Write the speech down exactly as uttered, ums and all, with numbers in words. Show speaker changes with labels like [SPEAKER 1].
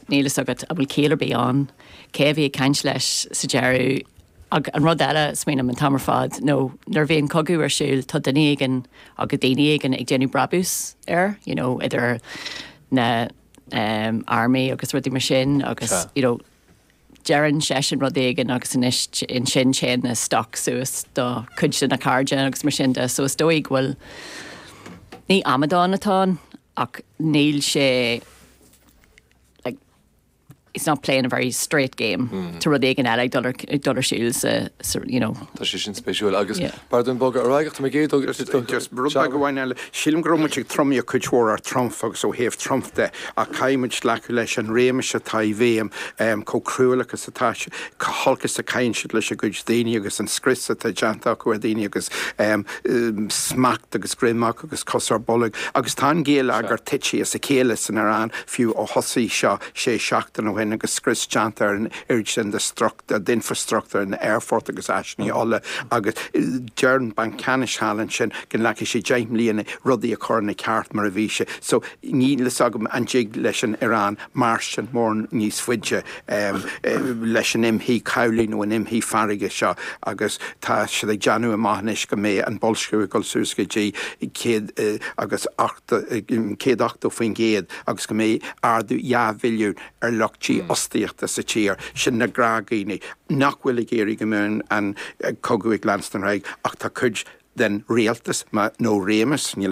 [SPEAKER 1] Níl a fhios agat an bhfuil ciall ar bith ann, cé a bhí ag caint leis sa deireadh. Ag an rud eile smaoiním an t-am ar fad nó nuair a bhíonn cogadh ar siúl, tá duine éigin agus daoine éigin ag déanamh brabús air, you know, idir na um, army agus rudaí mar sin agus
[SPEAKER 2] Sea.
[SPEAKER 1] you know, deireann seisean rud éigin agus anois ansin téann na stoc suas do chuid de na cairde agus mar sin de. So is dóigh go bhfuil ní amadán atá ann ach níl sé like, it's not playing a very straight game mm. Tá rud éigin eile ag dul ar ag dul ar siúl sa, sa you know
[SPEAKER 2] Tá sé sin spéisiúil agus
[SPEAKER 1] Yeah.
[SPEAKER 2] B'fhearr dúinn bogadh ar aghaidh mé géad.
[SPEAKER 3] Just rud beag amháin eile. Sílim go raibh muid ag tromaíocht cuid mhór ar Trump agus ó thaobh Trump de ach caithfimid glacadh leis an réimeas atá i bhfeidhm um, chomh cruálach agus atá sé- chomh holc is a chaitheann siad leis a gcuid daoine agus an scrios atá déanta acu ar daoine agus um, um, smacht agus greamach agus cos ar bolg agus tá an géilleagar tite as a chéile san Iaráin fiú ó thosaigh seo sé seachtain ó shin agus scrios déanta ar an oiread sin de strucht d'infrastruchtúr an aerfort agus áiseanna eile agus eh, deir an Banc Ceannais thall ansin go nglacfaidh sé deich mbliana rudaí a chur ina ceart mar a bhí sé. So níl a fhios agam an dtig leis an Iaráin mar sin mór níos faide um, leis an imshuí cabhlaigh nó an imshuí farraige seo agus tá siad ag déanamh amach anois go mbeidh an boilsciú ag dul suas go dtí céad eh, agus céad ochtó faoin gcéad agus go mbeidh ardú dhá mhilliún ar lucht dífhostaíochta sa tír sin na gnáthdhaoine nach bhfuil ag iarraidh go mbeadh an cogadh ag leanstan ach tá cuid den rialtas nó réimeas níl